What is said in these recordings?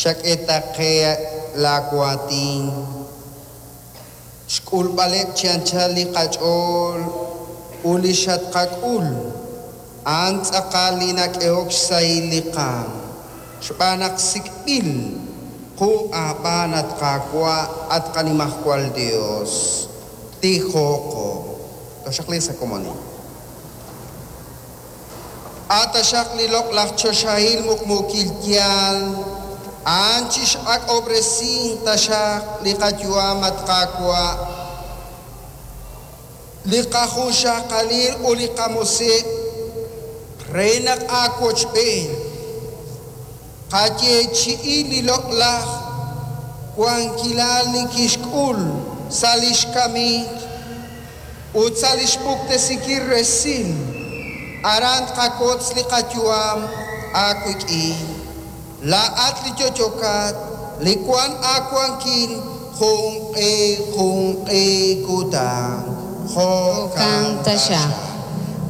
Chak'e ta qe laawaatin, xk'ulb'aleb' chi anchal li qach'ool ut li xatqak'ul, a'an tz'aqal li nak'ehok xsahil li qaanm, xb'aan naq sik'b'il qu aab'aan, at Qaawa', at qaNimajwal Yos. Tijoqo. Toxaqliiq sa' komonil. A' taxaq li loq'laj choxahil muqmuukil yaal a'an chix'ak'ob'resink taxaq li qayu'am, at Qaawa', li qajunxaqalil ut li qamusiq' re naq aawochb'een tqayeechi'i li loq'laj wankilal li kixk'ul sa' li xkamik ut sa' li xpuktesinkil resil, aran tqakotz li qayu'am aawik'in. Laa'at li yo'yokat, li wank aawankil junq'e junq'e kutan. Jo'kan taxaq.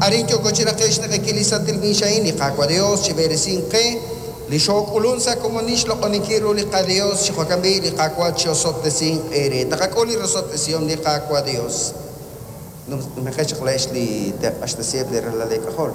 Arin yooko chi raqe'k xnaqekil li santil miix a'in, li Qaawa' Dios chib'eresinq qe, li xook'ulunk sa' komonil xloq'oninkil ru li qaDios, chi jo'kan b'i' li Qaawa' chi'osob'tesinq eere. Taqak'ul li rosob'tesihom li Qaawa' Dios. Numeqex chaq laa'ex li te'q'axtesiheb' li ralal eek'ajol.